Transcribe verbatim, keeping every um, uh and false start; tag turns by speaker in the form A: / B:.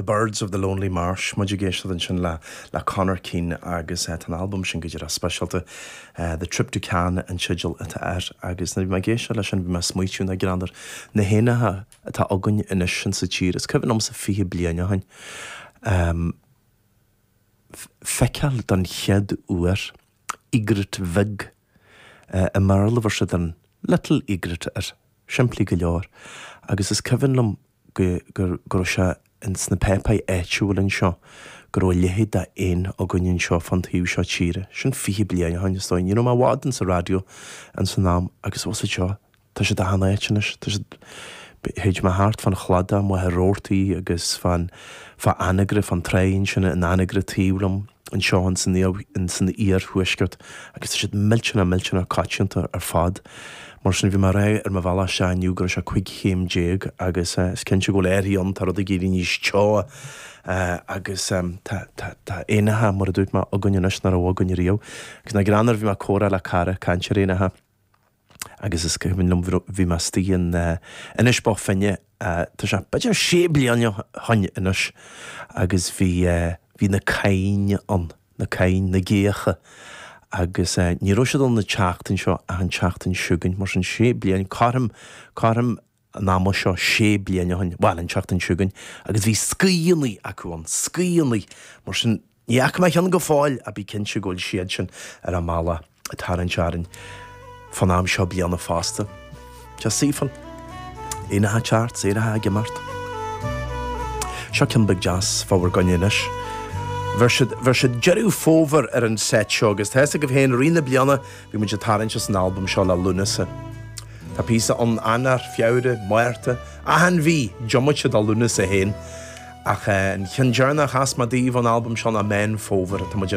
A: The Birds of the Lonely Marsh muid ag éisteacht ansin le le Conor Keane agus uh, an album sin go dtí speisialta uh, The Trip to Cannes an teideal atá air agus nuair bhí mé ag éisteacht leis sin bhí mé ag smaoitiú na greannmhar na héanacha atá againn anois sin sa tír is cuimhin liomsa fiche bliain ó shin. Um, feiceáil don chéad uair egret bheag uh, i mBéarla bheir siad an little egret air simplí go leor agus is cuimhin liom go go go raibh sé in sna páipéir áitiúil anseo go raibh a leithéid d'éan againn anseo fan taobh seo tíre, sin fiche bliain ó shin is dóigh. Ní raibh mé i bhfad in sa raidió an san am agus was seo tá sé achan áit anois tá sé théid mé thart fan chladach Mhachaire Rabhartaigh agus fan fa Anagaire fan traein sin in Anagaire taobh liom anseo in san in san iarthuaisceart agus tá siad millteanach millteanach coitianta ar fad. Mar sin bhí mé rá ar mo bhealach isteach inniu go raibh sé cúig chéim déag agus uh, is cinnte go bhfuil éirí an tá rud ag éirí níos teo uh, agus um, tá tá éanacha mar a dúirt mé againn anois nach raibh againn riamh. Agus na greannmhar bhí mé ag comhrá le cara caint ar éanacha agus is cuimhin liom bhí mé istigh in uh, Inis Bó Finne uh, tá sé b'fhéidir sé bliana ó shin anois agus bhí uh, bhí na crainn ann na crainn na géacha agus uh, ní raibh siad ann an tseachtain seo ach an tseachtain seo chugainn mar sin sé bliain cothrom cothrom an ama seo sé bliana ó shin bhuel an tseachtain seo chugainn agus bhí scíannaí acu an scíannaí mar sin ní fhaca mé cheann go fóill a bí cinnte go bhfuil siad sin ar an mbealach ag tarraingt orainn fan am seo bliana fosta. Tá saofa Éanacha ceart éanacha ag imeacht. Seo ceann beag deas fá bhur gcoinne anois. Bheir siad bheir siad deireadh fómhair ar an set seo agus tá go féin rí na bliana bhí muid ag tarraingt as an album seo le Lúnasa. Tá píosa an Eanáir Feabhra Márta achan mhí diomaite de Lúnasa féin ach an ceann deireanach as ma daoibh an album seo ná Meán Fómhair tá muid